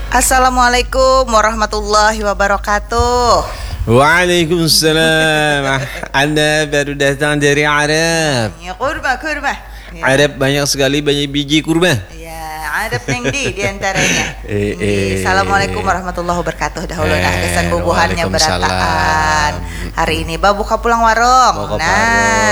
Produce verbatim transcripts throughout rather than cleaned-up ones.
Assalamualaikum warahmatullahi wabarakatuh. Waalaikumsalam. Anda baru datang dari Arab. Ya, kurma, kurma. Ya. Arab banyak sekali, banyak biji kurma. Ya, Arab neng di diantaranya. Eh, Nggih. Eh. Assalamualaikum warahmatullahi wabarakatuh. Dahulu nah Eh, kesan bubuhannya waalaikumsalam. Berataan. Hari ini babuka pulang warung. Babuka Nah,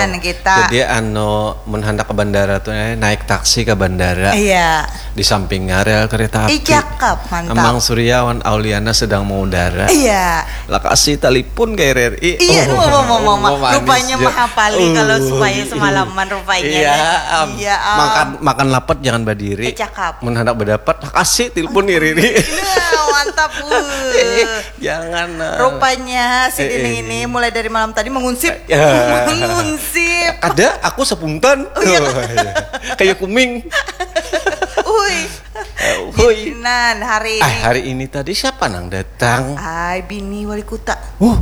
warung. Kita. Jadi anu mun handak ke bandara tuh eh, naik taksi ke bandara. Iya. Di sampingnya rel kereta api. Ih, cakep, mantap. Amang Surya wan Auliana sedang mengudara. Iya. Lakasi telepon ke R R I. Iya, Oh, mau mau mau mau. manis Rupanya dia. mahapali kalau Uh. supaya semalaman rupanya. Iya, Nah. am. Iya, am. Makan makan lapet jangan berdiri. Eh, cakep. Mun handak berdapat, kasih telepon R R I. Iya, mantap. Uh. Jangan. eh. Rupanya si Eh, Dining eh. Ini mulai dari malam tadi mengunsip. Ya. Mengunsip. Ada aku sepuntan. Oh, iya. Kayak kuming. Ui. Eh, Hui. Nan hari Ah, ini. Hari ini tadi siapa nang datang? Ai, bini wali kota. Uh,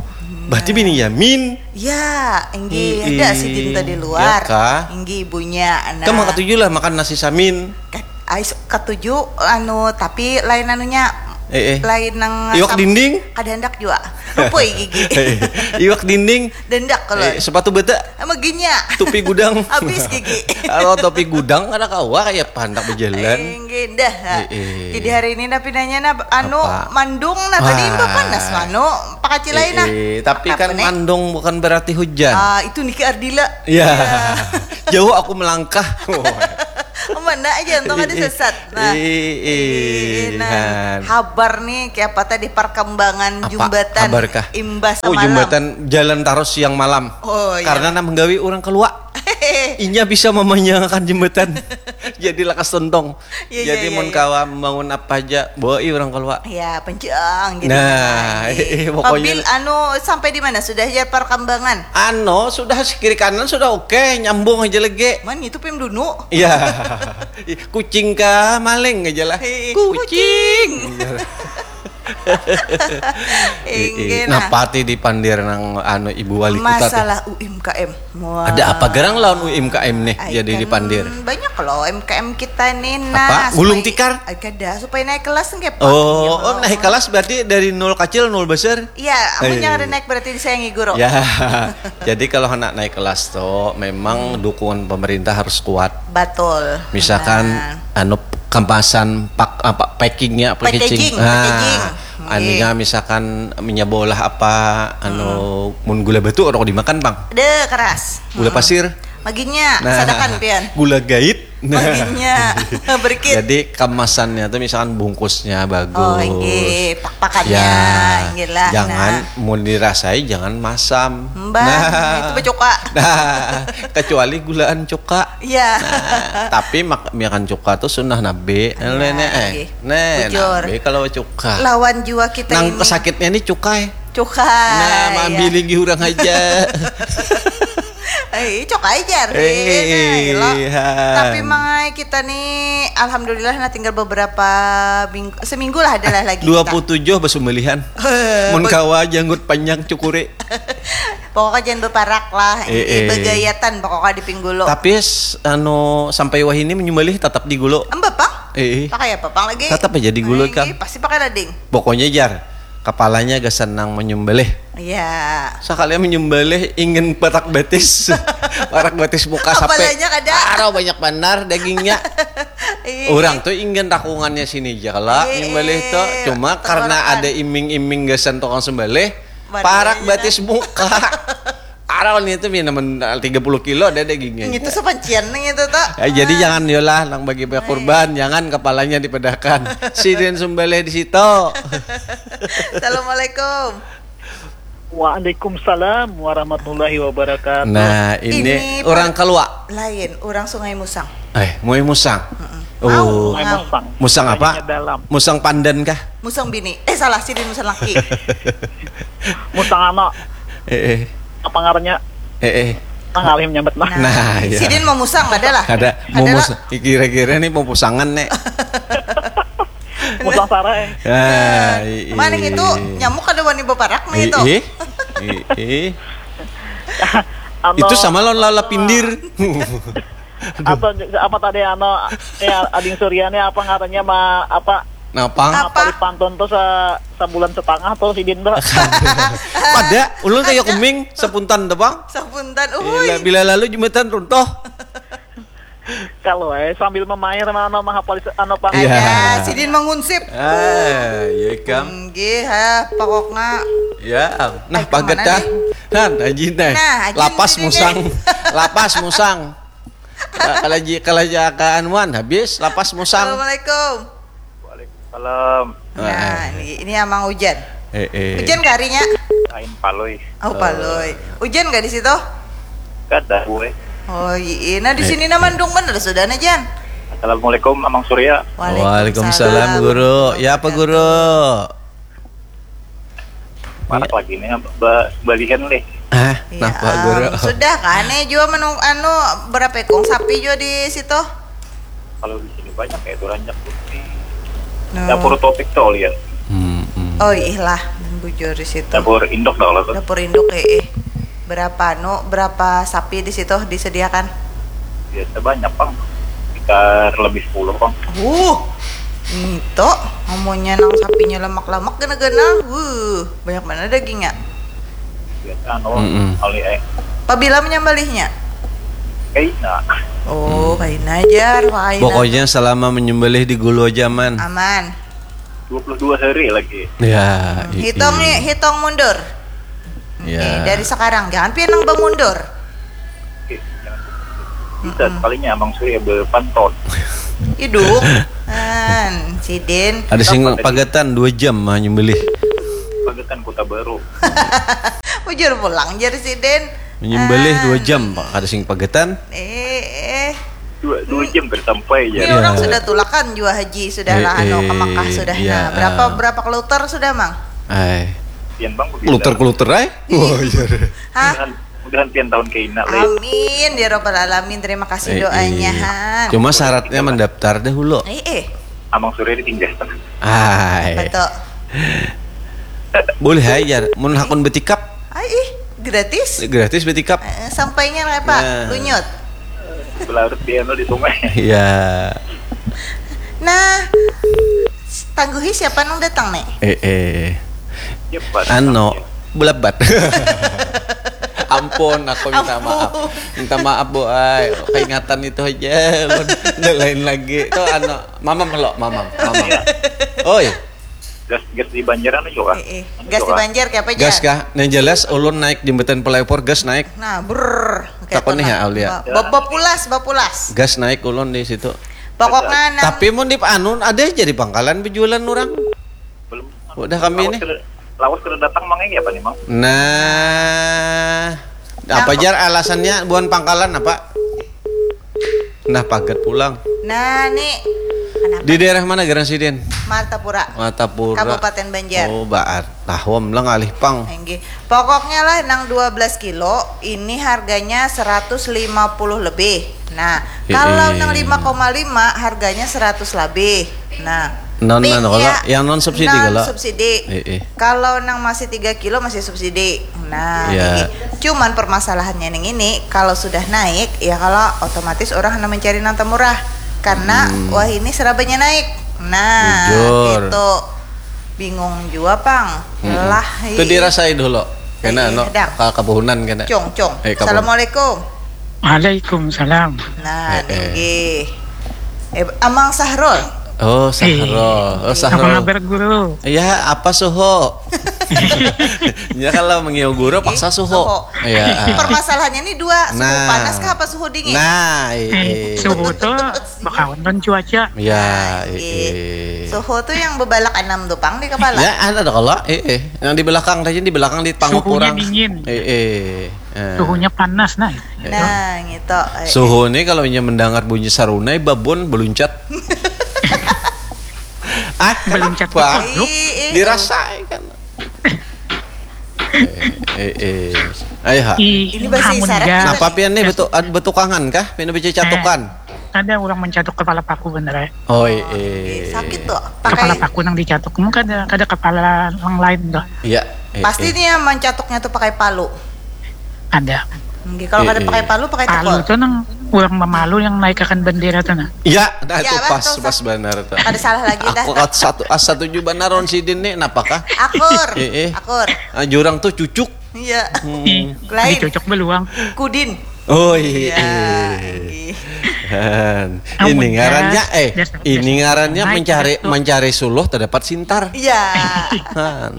berarti bini Yamin. Ya, enggih Ih, ada sidin tadi luar. Ya kah? Enggih ibunya. Nah. Kamu katuju lah makan nasi samin. Kat- Ai su- katuju anu tapi lain anunya. Eh, eh. Lain nang Iwak sam- dinding? Kada hendak jua. Lupui gigi. Iwak dinding. Dendak kalau. Eh, sepatu bata. Maginya. Topi gudang. Habis gigi. Kalau topi gudang kada kawa kayak pandak berjalan. Enggih dah. Eh, eh. Jadi hari ini napi nanya nah anu Apa? Mandung nah tadi Wah. Imbah panas manu pakaci lain nah. Eh, eh, tapi Apa kan nih? Mandung bukan berarti hujan. Ah, itu Niki Ardila. Ya. Jauh aku melangkah. Mana aja untung ada sesat. Nah. Eh, eh, Nah, Han. Habar nih kayak apa tadi perkembangan Apa? Jembatan Habar kah? Imbas Oh, semalam. Jembatan Jalan Taros siang malam. Oh, iya. Karena nang menggawi orang keluar. Inya bisa memanjangkan jembatan. Jadi lakas tontong. Iya, iya, Jadi iya, mun iya. Kawa membangun apa aja, bawa orang keluar. Ya, pencang gitu. Nah, eh, pokoknya Pabil anu sampai di mana sudah ya perkembangan? Ano sudah kiri kanan sudah oke, nyambung aja lagi. Man itu pim dunu. Iya. Kucing kah maling aja lah. Eh, Kucing. Inggih nah. Napa ti dipandir nang anu ibu wali kota teh? Masalah U M K M. Wah. Ada apa gerang lawan U M K M nih Ai, jadi kan dipandir? Banyak loh U M K M kita nih nah. Apa? Gulung Supaya- tikar? Ai, kada, supaya naik kelas nggak Oh, oh, naik kelas berarti dari nol kecil nol besar. Iya, amun Eh. jangan ada naik berarti disayangi guru. Ya. Jadi kalau anak naik kelas tuh memang dukungan pemerintah harus kuat. Betul. Misalkan Nah. anu kemasan pak apa packingnya Packaging, packaging. packaging. Anunya misalkan minyak bola apa anu mun gula batu orang dimakan bang. Deh keras. Gula Hmm. Pasir. Maginya, Nah, sadakan pian. Gula gait. Maginya, berkit. Jadi kemasannya tuh misalkan bungkusnya bagus. Oh, inggih, pak-pakannya, Ya, inggih lah, jangan nah. Mau dirasai jangan masam. Mbah, itu becuka. Nah, kecuali gulaan cuka. Iya. Nah, tapi mak makan cuka tuh sunnah nabi. Iya, Nenek, eh, inggih. Nih, Bujur. Nabi kalau cuka. Lawan jua kita Nang ini. Sakitnya ini cukai. Cuka. Nah, Iya. Ambil lagi orang aja. Eh, cok aja Eh, lo. iya. Tapi mangai kita nih, alhamdulillah nah tinggal beberapa minggu, seminggu lah adalah lagi. Dua puluh tujuh besumbalihan. Eh, Mun be- kawa janggut panjang cukuri. Pokoknya jangan beparak lah. Eh, eh. Begayatan pokoknya di pinggulu. Tapi s- anu sampai wahini menyembelih tetap di gulu. Embah pang? Eh, eh. Pakai apa pang lagi? Tetap aja di gulu, Lagi, kan? Pasti pakai lading. Pokoknya jar, kepalanya gasan nang menyembelih. Iya. Sekalian menyembelih ingin parak batis. Parak batis muka sampai. Kepalanya kada. Arau banyak banar dagingnya. Iya. Orang tuh ingin rakungannya sini aja lah Iya. nyembelih tuh. Cuma karena Tenggorokan. Ada iming-iming gasan tukang sembelih, Badannya parak aja batis muka. Arau nih tuh minum tiga puluh kilo ada dagingnya. Itu sepancian nih itu tuh. Eh, jadi jangan yolah nang bagi kurban, jangan kepalanya dipedahkan. Sidin sembelih di situ. Assalamualaikum. Waalaikumsalam warahmatullahi wabarakatuh. Nah, ini, Ini orang Pak- Keluak. Lain, orang Sungai Musang. Eh, Mui Musang. Mm-mm. Oh. Au, Sungai ngau. Musang. Musang apa? Kayaknya dalam. Musang Pandan kah? Musang bini. Eh salah, sidin musang laki. Musang ano, Eh, eh. Apa ngarannya? Eh, eh. Nah, ngalih menyambat nah. Nah, iya. Sidin mau musang ada lah. Ada mau Ada mus- kira-kira nih mau pusangan nih. Musang sarai. Ah, i- i- Mana itu nyamuk ada wani beparak nih i- itu. i- i- i. Ano, Itu sama lawan lala pindir. Atau apa tadi ano ya Ading Surya nih apa ngarannya ma apa Napa? Apa? Apa di pantun tuh sa sabulan setengah tuh sidin tuh. Pada ulun kayak kuming sepuntan tuh, Bang. Sepuntan, uhuy. Bila, bila lalu jembatan runtuh. Kalau eh sambil memair mana mah apa anu, Bang? Iya. Ada sidin mengunsip. Ah, iya, Kang. Nggih, ha, pokoknya. Ya, nah, paget dah. Nah, ajin deh. Nah, ajin. Lapas musang. Lapas musang. Kalau ji kalau ji ka anuan habis lapas musang. Assalamualaikum. Waalaikumsalam. Nah, ini, ini Amang hujan. Eh, eh. Hujan kah harinya? Kain palui. Oh, palui. Hujan gak di situ? Kada, gue. Oh, iya. Nah, di sini nah mendung bener sudah nah, Jan. Assalamualaikum, Amang Surya. Waalaikumsalam, Guru. Ya, apa, Guru? Marak lagi nih, ba balihan nih. Ah, ya, napa, Guru? Sudah kan nih jua menung anu berapa ekong sapi jua di situ? Kalau di sini banyak ya, itu ranjak tuh. Nah. Dapur Topik tuh lihat. Hmm, hmm. Oh, ih lah, bujur di situ. Dapur induk dah kalau tuh. Dapur induk, eh, eh. Berapa anu, berapa sapi di situ disediakan? Biasa banyak, Bang. Sekitar lebih sepuluh, Bang. Uh, itu amunnya nang sapinya lemak-lemak gana-gana. Wuh, banyak mana dagingnya. Biasa anu, mm -mm. Kali eh. Pabila menyembelihnya? Kaina. Oh, mm. Kaina aja, kaina. Pokoknya selama menyembelih di gulu aja aman. Aman. Dua puluh dua hari lagi. Ya, hmm. Hitung nih, hitung mundur. Ya. Oke, dari sekarang jangan pian nang bamundur. Oke, jangan. Bisa mm -mm. Sekalinya Amang Surya berpanton. Idung. Kan, sidin. Ada sing pagetan dua jam mah nyembelih. Pagetan Kota Baru. Bujur pulang jar sidin. Menyembelih dua jam, Pak. Ada sing pagetan. Eh, eh. Dua, dua jam kada sampai ya. Ini orang sudah tulakan jua haji, sudah lah anu ke Mekah sudah. Nah, berapa berapa kloter sudah, Mang? Ai. Pian Bang begitu. Kloter-kloter ai. Oh iya. Hah? Mudahan, mudahan pian tahun kaina lagi. Amin ya rabbal alamin. Terima kasih doanya, Han. Cuma syaratnya mendaftar dahulu. Eh, eh. Amang Surya ditinggahkan. Ai. Betul. Boleh ai jar. Mun hakun betikap. Ai ih, gratis. Gratis betikap. Eh, sampainya apa? Ya. Lunyut. Belarut di anu di sungai. Ya. Nah, tangguhi siapa nang datang nih? Eh, eh. Cepat. Anu, belabat. Ampun, aku minta maaf. Minta maaf, Bu ai. Keingatan itu aja. Udah lain lagi. Tuh anu, mamam lo, mamam, mamam. Oi. Gas, gas di Banjar anu juga. Eh, eh. Gas di Banjar kayak apa aja? Gas kah? Yang jelas ulun naik jembatan flyover, gas naik. Nah, brrr. Takon nih ya, Aulia. Bapulas, bapulas. Gas naik ulun di situ. Pokoknya nang. Tapi mun di anu ada aja di pangkalan bejualan orang. Belum. Udah kami ini. Lawas kada datang mang ini apa nih, Mang? Nah, apa jar alasannya buan pangkalan apa? Nah, paget pulang. Nah, nih. Di daerah mana, Garan Sidin? Martapura. Martapura. Kabupaten Banjar. Oh, baat. Tahom lah ngalih pang. Inggih. Pokoknya lah nang dua belas kilo ini harganya seratus lima puluh lebih. Nah, kalau nang lima koma lima harganya seratus lebih. Nah, non, non, kalau yang non subsidi non kalau? Subsidi. Eh, eh. Kalau nang masih tiga kilo masih subsidi. Nah, ya. Cuman permasalahannya ning ini kalau sudah naik ya kalau otomatis orang hendak mencari nang temurah karena hmm. Wah ini serabanya naik. Nah, bujur. Itu bingung jua pang. Hmm. Lah. Itu dirasai dulu. Kena eh, no, ka kabuhunan kena. Cung, cung. Eh, assalamualaikum. Waalaikumsalam. Nah, eh, eh. Eh, Amang Sahrul. Oh, Sahrul. Oh, Sahrul. Apa kabar, Guru? Iya, apa suhu? Ya kalau mengiau guru paksa suhu. Iya. Permasalahannya ini dua, suhu nah. Panas kah apa suhu dingin? Nah, eh, suhu tuh bakawan dan cuaca. Ya, eh. Suhu tuh yang bebalak enam tuh pang di kepala. Ya, ada kalau eh, eh. Yang di belakang tadi di belakang di panguk kurang. Suhunya dingin. Eh, eh. Eh. Suhunya panas nah. Nah, gitu. Suhu nih kalau inya mendengar bunyi sarunai babon beluncat. Ah, beluncat apa? Dirasai kan. Eh, eh, eh. Ayo ha. Ini bahasa isyarat. Napa pian nih betu betukangan kah? Pian baca catukan. Ada orang mencatuk kepala paku bener ya. Oh, iya. Sakit tuh. Pakai kepala paku nang dicatuk. Mun kada kada kepala nang lain tuh. Iya. Pasti nih yang mencatuknya tuh pakai palu. Ada. Kalau kada pakai palu, pakai tekol. Palu tuh nang Urang mamalu yang naikakan bendera tu nah. Ya, nah, itu pas, pas banar tu. Kada salah lagi dah. Aku kat satu, ah, satuju banar lawan sidin ni, napakah? Akur. Eh, eh. Akur. Ah, jurang tu cucuk. Iya. Hmm. Lain. Cucuk beluang. Kudin. Oh iya. Iya, iya. Han. Ini ngarannya, eh, ini ngarannya mencari, mencari suluh terdapat sintar. Iya. Han.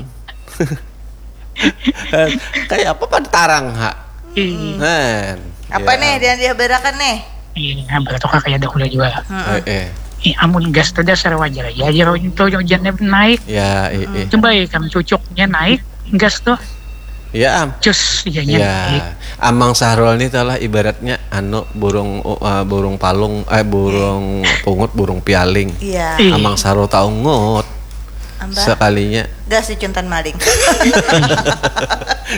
Kayak apa pada tarang, ha? Ih. Han. Apa nih yang dihabarakan nih? Iya, bertukar kayak dahulu juga. Eh, eh. Ih, amun gas tuh dasar wajar aja, aja kau itu hujannya naik. Ya, eh, eh. Coba ya, kan cucuknya naik, gas tuh. Ya, am. Cus, iya, ya. Naik. Amang Sahrul nih tahu lah ibaratnya anu burung, uh, burung palung, eh, burung pungut, burung pialing. Iya. Ih. Amang Sahrul tahu ngut. Amba. Sekalinya. Gas dicuntan maling.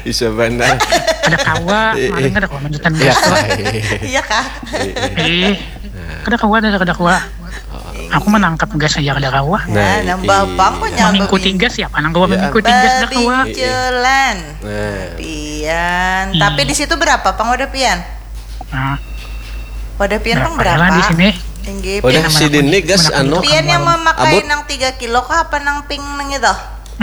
Bisa benar. Kada kawa, eh, maling kada kawa mencutan gas. Iya kah? Eh, kada kawa, kada, kada kawa. Aku menangkap gas aja kada kawa. Nah, nambah pang kok nyambung. Mengikuti gas ya, apa nang kawa mengikuti gas kada kawa. Babiculan. Nah. Pian. Tapi di situ berapa pang wadah pian? Nah. Wadah pian pang berapa? Lah di sini. Tinggi. Wadah pian. Sidin ni gas anu. Pian yang memakai nang tiga kilo kah apa nang pink nang itu?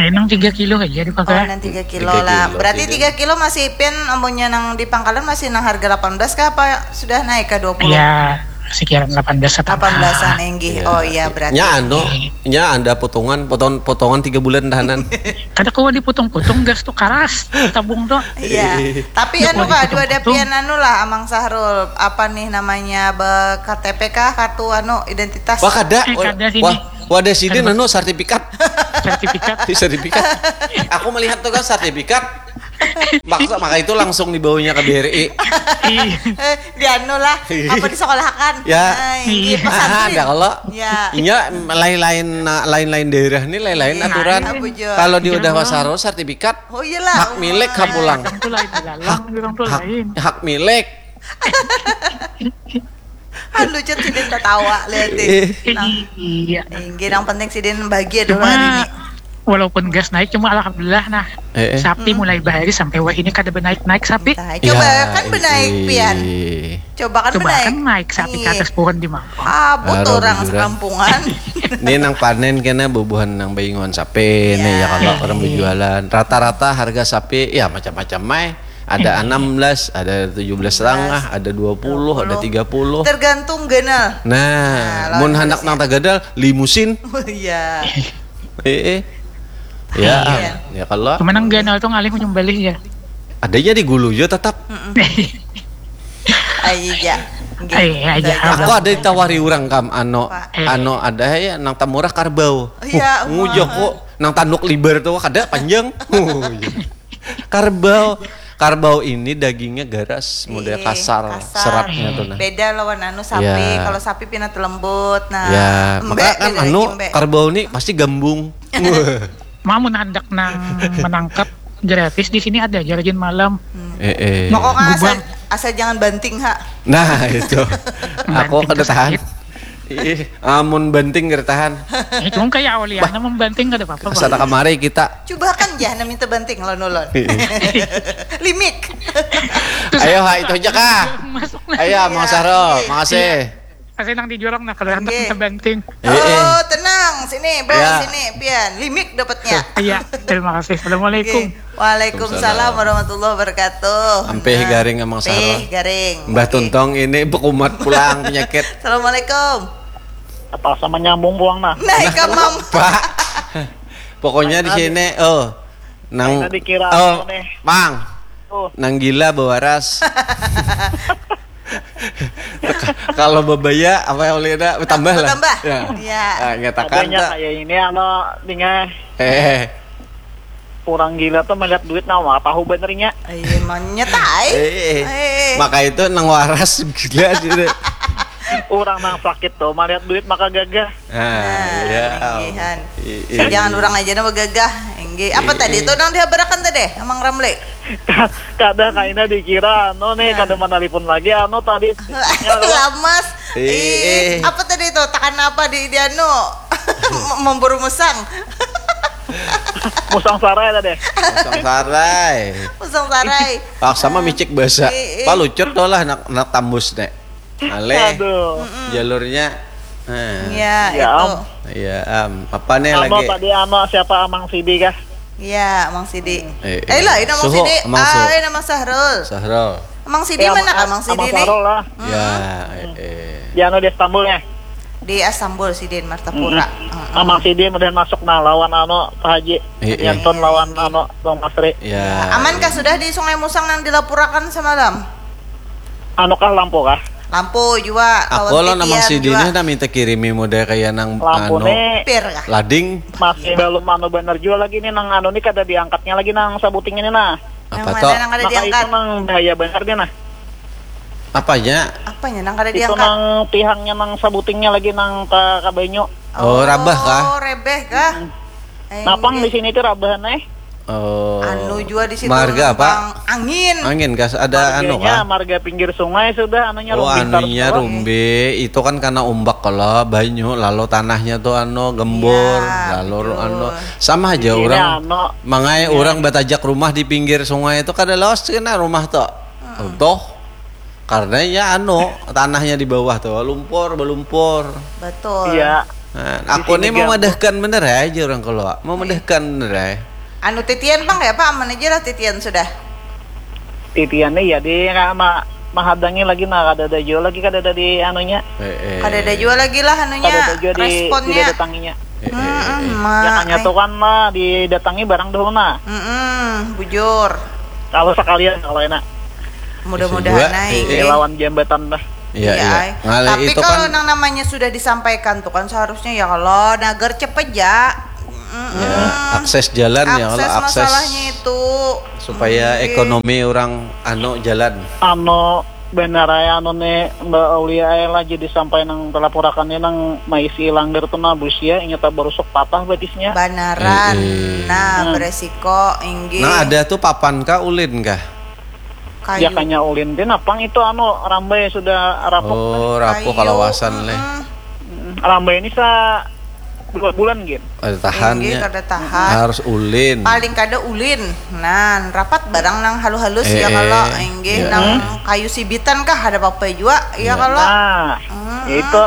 Eh, nang tiga kilo aja dipakai. Oh, nang tiga kilo lah. Berarti tiga kilo masih pian, amunnya nang di pangkalan masih nang harga delapan belas kah apa sudah naik ke dua puluh? Ya, sekian delapan belas atau delapan belasan, inggih. Oh iya, berarti. Nya anu, nya ada potongan, potongan, potongan tiga bulan tahanan. Kada kawa diputung-putung, gas tu karas, tabung tu. Iya. Tapi anu kah, dua dapian anu lah, Amang Sahrul, apa nih namanya, be-, K T P kah, kartu anu, identitas? Wah, kada. Eh, kada sini. Wah, wadah sidin anu, sertifikat. Sertifikat. Sertifikat. Aku melihat tu kan sertifikat. Maksa, maka itu langsung dibawanya ke B R I. Ih. Eh, di anu lah, apa disekolahakan? Ya. Nah, ini pesantren. Ada kalau. Ya. Inya lain-lain, lain-lain daerah nih, lain-lain aturan. Kalau di udah Sahrul sertifikat, oh iyalah, hak milik ha pulang. Hak, hak milik. Aduh, Cen, sidin tatawa, lihat deh. Iya. Inggih, nang penting sidin bahagia dulu hari ini. Walaupun gas naik, cuma alhamdulillah, nah. Eh, eh. Sapi mulai bahari sampai wah ini kada benaik-naik sapi. Nah, coba kan benaik, pian. Coba kan benaik. Coba kan naik sapi ke atas pohon di Mampang. Ah, butuh orang sekampungan. Ini nang panen kena bubuhan nang bainguan sapi nih, ya, kalau orang berjualan. Rata-rata harga sapi, ya, macam-macam, mai. Ada enam belas, ada tujuh belas setengah, ada dua puluh, ada tiga puluh. Tergantung ganal. Nah, mun handak nang taganal, limusin. Iya. Eh, eh. Ya, ya kalau. Cuma nang ganal tu ngalih nyumbalih ya. Adanya di gulu jo tetap. Ayo ya. Aku ada ditawari orang kam, ano, ano ada ya nang tamurah karbau. Iya, ngujo kok nang tanduk libar tu kada panjang. Karbau, karbau ini dagingnya garas, model kasar, seratnya tuh nah. Beda lawan anu sapi. Ya. Kalau sapi pina lembut, nah. Ya, maka kan anu karbau ini pasti gambung. Mau menandak nang menangkap gratis di sini ada aja rajin malam. Hmm. Eh, eh. Pokoknya asal, asal jangan banting ha. Nah, itu. Aku kada tahan. Ih, amun banting kada tahan. Itu kayak Auliana membanting kada apa-apa. Sana kamari kita. Coba kan ya, minta banting lawan ulun. Limik. Ayo, ha, itu aja kah? Ayo, Mang Sahrul, makasih. Kasih nang di jurang nah, kalau handak minta banting. Oh, tenang, sini, bro, sini, pian. Limik dapatnya. Iya, terima kasih. Assalamualaikum. Waalaikumsalam warahmatullahi wabarakatuh. Ampih garing, Amang Sahrul. Ampih garing. Mbah Tuntong ini bekumat pulang penyakit. Assalamualaikum. Apa sama nyambung pulang nah? Naik ke mam. Pak. Pokoknya di sini, oh, nang, oh, Mang. Nang gila bewaras. Kalau bebaya apa yang boleh ada bertambah lah. Bertambah. Ya. Iya. Ah, nyatakan kayak ini, ano, tinggal. Eh. Orang gila tuh melihat duit nama tahu benernya. Iya, monyet ai. Eh, eh. Maka itu nang waras gila sih. Orang nang sakit tuh melihat duit maka gagah. Nah, iya. Jangan orang aja nama gagah. Enggih. Apa tadi tuh nang dihabarakan tadi, Amang Ramli? Kada kaina dikira anu nih, kada manalipun lagi anu tadi. Lamas. Ih, apa tadi tuh? Takan apa di, di anu? Memburu musang. Musang sarai tadi. Musang sarai. Musang sarai. Paksa mah micik basa. Palucut tuh lah nak, nak tambus nek. Aleh. Aduh. Jalurnya. Nah. Ya, Ya, itu. Am. Ya, am. Apa nih Amo lagi? Tadi amo siapa Amang Sidi kah? Ya, Mang Sidi. Eh, Eh, lain Amang Suhu, Sidi. Amang Suhu. Ah, ini Amang Sahrul. Sahrul. Amang Sidi Eh, mana Amang- kah Amang Sidi Amang nih? Sahrul lah. Ya, eh, eh. Di anu di Istanbul ya. Di Istanbul Sidin Martapura. Heeh. Amang Sidi mudahan masuk nah lawan anu Pak Haji. Eh, eh. Yantun lawan anu Bang Masri. Ya. Aman kah sudah di Sungai Musang yang dilaporakan semalam? Anu kah lampu kah? Lampu juga. Aku Lawan lo namang titian Sidi juga. Nih minta kirimi model kayak nang Lampu anu nih Pir kah? Lading. Masih belum anu bener juga lagi nih nang anu nih kada diangkatnya lagi nang sabuting ini nah. Yang Apa mana toh? nang kada Maka itu diangkat? Nang bahaya bener nih nah. Apanya? Apanya nang kada Itu diangkat? Nang tihangnya nang sabutingnya lagi nang ka kabanyu. Oh, rabah kah? Oh, rebeh kah? Napang di sini tuh rabahan eh. Oh. Anu juga di situ. Marga apa? Angin. Angin kah? Ada anu Marganya kah? Marga pinggir sungai sudah anunya Oh, rumpi anunya tarus. Rumbi itu kan karena ombak kalau banyu lalu tanahnya tuh anu gembur Ya, lalu betul. Anu sama aja Ini orang anu. Mangai orang batajak rumah di pinggir sungai itu kada lawas kena rumah tuh. Tuh. Karena ya anu tanahnya di bawah tuh lumpur belumpur. Betul. Iya. Nah, aku sini nih mau ganggu. Madahkan bener aja orang keluar. Mau madahkan bener aja. Anu titian bang ya pak aman aja lah titian sudah. Titian nih ya di ma mahadangi lagi nah kada ada jua lagi kada ada di anunya. Eh, eh. Kada ada juga lagi lah anunya Kada ada jua di responnya. Didatanginya. Eh, eh, Mm-mm, eh. ma- Makanya eh. Tuh kan lah didatangi barang dahulu nah. Mm-mm, bujur. Kalau sekalian kalau enak Mudah-mudahan Bisa juga, naik. eh, Di lawan jambatan dah. Iya, Iya, iya. ai. Ngalih Tapi itu kalau kan nang namanya sudah disampaikan tuh kan seharusnya ya kalau nagar cepet ya. Mm-mm. ya, akses jalan ya kalau Akses akses masalahnya itu. supaya Oke. Ekonomi orang anu jalan. Anu benar ya anu nih Mbak Aulia eh lah jadi sampai nang telapurakannya nang maisi langgar tuh nabus ya ingat barusuk patah batisnya. Banaran. Eh, eh. Nah, Hmm. beresiko inggih. Nah ada tuh papan kah ulin kah? Kayu. Ya kanya ulin deh napang itu anu rambai sudah rapuk. Oh rapuh Kayu, kalawasan leh. Mm-mm. Mm, Rambai ini sa dua bulan gin. Ada tahannya. Inggih, kada tahan. Harus ulin. Paling kada ulin. Nah, rapat barang nang halus-halus ya Eh, kalau eh. inggih Ya. nang kayu sibitan kah ada apa-apa juga ya Ya. kalau. Nah, Mm-mm. itu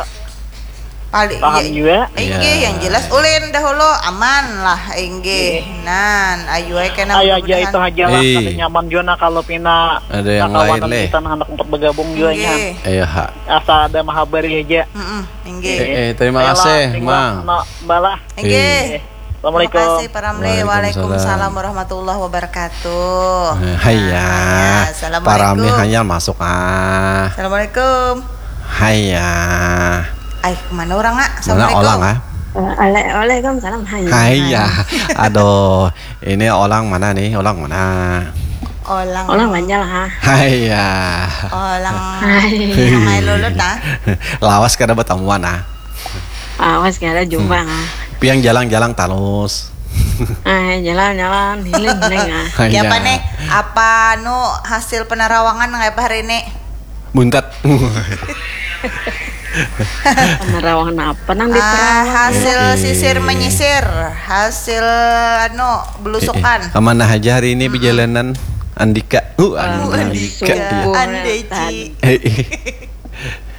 Paling paham iya, juga. Inggih, Ya. yang jelas ulin dahulu aman lah inggih. Nan, ayu ai kena Ayo aja mudah-mudahan. Itu aja lah Hei. Kada nyaman juga nah kalau pina Ada yang kakawanan lain, leh. Kita nah anak empat bergabung juga nya. Inggih. Ayo ha. Asa ada mahabari aja. Mm-mm, inggih. Eh, eh, terima Ayolah, kasih, tinggal Mang. No, balah. Inggih. Eh, Assalamualaikum. Terima kasih Pak Ramli. Waalaikumsalam. Waalaikumsalam warahmatullahi wabarakatuh. Eh, Haiya. Nah, Pak Rami assalamualaikum. Haiya masuk ah. Assalamualaikum. Haiya. Ay, kemana orang ah? Mana orang ah? Waalaikumsalam. Hai. Haiya. Aduh, ini orang mana nih? Orang mana? Olang. Orang banyak lah. Haiya. Olang. Hai. Yang main lulut nah. Lawas kada bertemuan ah. Awas kada jumpa ah. Piang jalang-jalang talus. Ah, jalan-jalan, hiling-hiling ah. Haiya. Ya apa nih? Apa nu hasil penerawangan nang apa hari ini? Buntat. Penerawangan apa nang Ah, diterawang? hasil Eh, eh. Sisir menyisir, hasil anu belusukan. Eh, eh. Kemana aja hari ini perjalanan Andika? Uh, Ah, Andika. Andika. subuh Andeci. tadi. Eh, eh.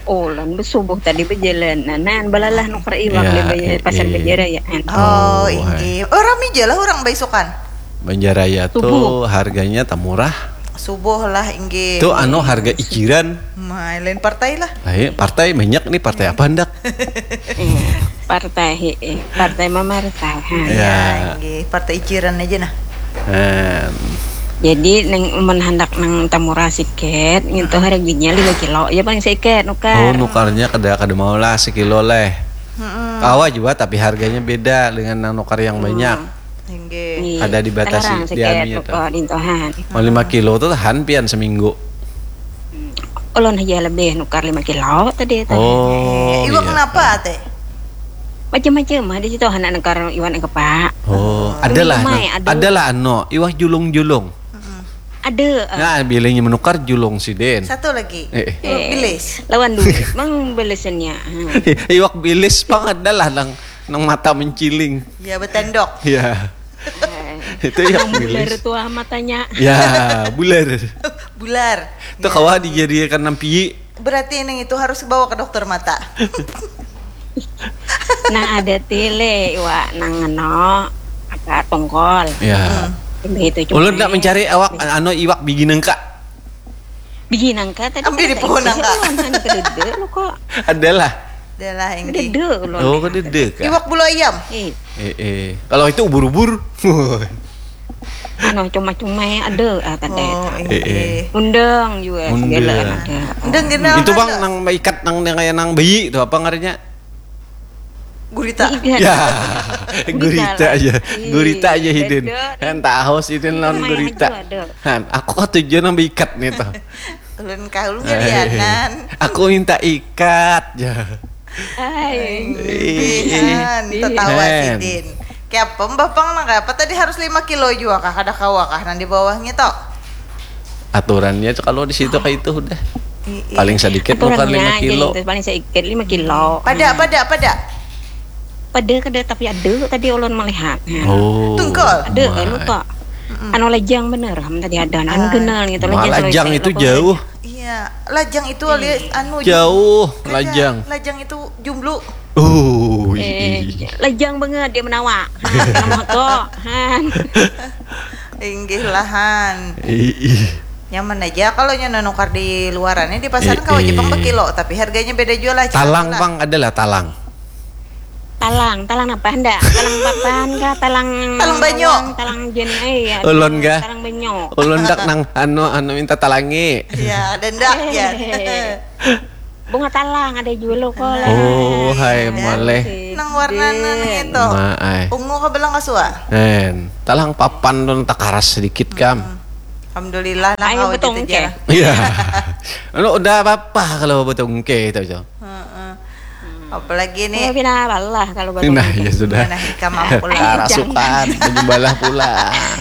Ulan subuh tadi berjalan. Nah, balalah nukar iwak Ya, di Baja- pasar eh, eh. Banjaraya. Oh, Oh, inggih. Oh, rami aja lah orang baisukan. Banjaraya tuh Subuh. Harganya tak murah. Subuh lah inggih. Tuh anu harga ikiran. Mai lain partai lah. Ayo, partai banyak nih, partai apa hendak? Iya, partai, eh, partai memerintah. Ha. Iya. Ya, inggih. Partai iciran aja nah. Em, Jadi neng mun handak nang tamurah siket, ngintu harganya lima kilo. Ya paling siket oh, nukar. Nukarnya kada kada mau lah sekilo leh. Mm-mm. Kawa juga tapi harganya beda dengan nang nukar yang banyak. Inggih. Nih, Ada dibatasi sekarang siket dianunya tuh. nukar dintuhan. Mau lima kilo tuh tahan pian seminggu. Ulun aja lebih nukar lima kilo tadi tadi. Oh, Eh, iwak iya. Kenapa teh? Macam-macam ada situ anak nukar iwan kepa. Oh, adalah Lumai, nah, ada. Adalah ano, iwak julung-julung. Ada. Ah. Nah, bilihnya menukar julung si Den. Satu lagi. Eh, eh. Iwak bilis. Lawan duit mang belesannya. Hmm. Iwak bilis pang adalah nang nang mata menciling. Ya betendok. Ya. Itu iwak Bular bilis. Tua matanya. Ya, bular. Bular. Itu kawa dijadikan nampi Berarti nang itu harus bawa ke dokter mata. Nah, ada tile iwa nang ngeno apa tongkol. Ya. Itu cuma. Ulun nak mencari awak anu iwak bigi nangka. Bigi nangka tadi. Ambil di pohon nangka. Kan kedede lo kok. Adalah. Adalah yang di Kedede lo. Oh, kedede kah? Iwak bulu ayam. Eh, Eh, eh. Kalau itu ubur-ubur. anu cuma-cuma ya ada ah, tadi. Oh, Eh, eh. iya. Undang juga Undang. segala ada. Undang gini. Itu bang nang ikat nang yang kayak nang bayi itu apa ngarannya? Gurita. Iya. Ya, gurita aja, Ih, gurita aja hidin. beda. Kan tahu sidin lawan Lumayan gurita. aja ada. Han, aku katujuan nang ikat nih tuh. Ulun kaul ngerianan. Aku minta ikat ya. Hai. Ihan, tetawa Hen. sidin. Kayak apa mbah pang nang apa tadi harus lima kilo juga kah kada kawa kah nang di bawahnya toh? Aturannya tuh kalau di situ kayak itu udah I- i- paling sedikit bukan Aturannya lima aja kilo. Itu paling sedikit lima kilo. Pada pada pada. Pada kada tapi ada tadi ulun melihat. Nah. Oh. Tungkol. Ada My. anu kok. Anu lajang bener ham tadi ada anu Ah. genel gitu Wah, lajang lajang selesai itu lo jauh. Iya, lajang itu alias anu Jauh, kada, lajang. Lajang itu jumblu. Oh, Eh, iya. Lajang banget dia menawa. Nah, moto. Han. Inggih lahan. Iya. Nyaman aja kalau nyono nukar di luarannya di pasar Eh, kawa aja pang eh. Bekilo, tapi harganya beda jua lah. Talang Cina bang adalah talang. Talang, talang apa ndak? Talang papan kah? Talang Talang banyu. Talang jen eh ya. Ulun kah? Talang banyu. Ulun dak nang anu anu minta talangi. Ya, dendak ya. Eh, Bunga talang ada juga lo kok. Oh, hai Ya. maleh. Sih. Nang warna nang itu. Ma ai. Ungu ke belang kasua. Hen, talang papan tu takaras sedikit kam. Alhamdulillah lah Ayo kau betong gitu ke. aja. Iya. Anu udah apa-apa kalau betul ke itu. Heeh. Apalagi Ini nih pina balah kalau baru. Nah, ya sudah. Nah, ikam mampu lah. Rasukan, menyembahlah pula.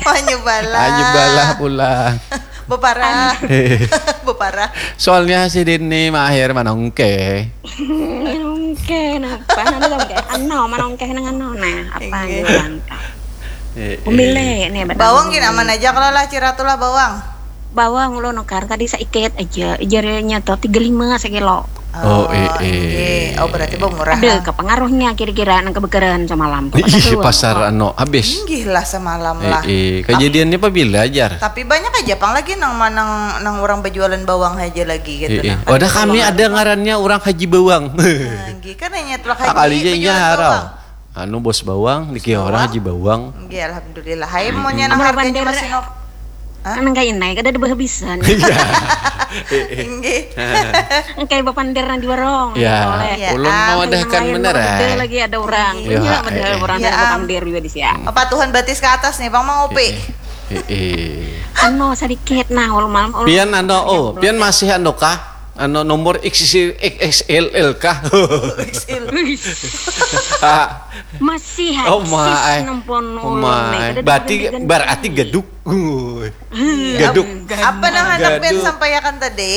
Menyembahlah. Menyembahlah pula. Beparah. Beparah. Soalnya si Dini mahir manongke. Manongke napa? Nanti dong kayak ano, manongke nang ano nah apa Inggih. Gitu langka. Eh, eh. Umile nih betul. Bawang gini aman aja kalau lah ciratulah bawang. Bawang lo nukar tadi saiket aja, jarnya tuh tiga lima sekilo. Oh, eh, eh. Inggih. Oh, berarti bawang murah. Ada ke pengaruhnya kira-kira nang kebekeran semalam. Ih, pasar anu habis. Inggih lah semalam Eh, lah. eh. Kejadiannya apa bila ajar? Tapi banyak aja pang lagi nang manang nang orang berjualan bawang aja lagi gitu Eh, eh. nah. Wadah kami ada ngarannya orang Haji Bawang. Nah, inggih kan hanya telah Kali aja berjualan nyarau. bawang. Anu bos bawang, dikira orang Haji Bawang. Inggih, alhamdulillah. Hai maunya nang Amun harganya bandar- masih no. Hah? Nang kayak ini kada ada berhabisan. Inggih. Kayak bapander nang di warung. Ya, Oleh. Iya, ulun ah. mawadahakan Nang lain bener gede eh. Lagi ada orang. Iya, Iya, eh, bener eh. orang Iya, ada ah. bapander juga di sia. Apa Tuhan batis ke atas nih, Bang mau ngopi? Eh, eh. Anu sedikit nah, ulun malam ulun. Pian anu oh, pian masih anu kah? Anu nomor X X L L kah? Masih Oh, eksis ma, eh. nempon Oh, ulun ma, nih. eh. Kada Berarti diganti-ganti. Berarti gaduk. Uy. Gaduk. Apa nang hendak pian Gaduh. Sampaikan tadi?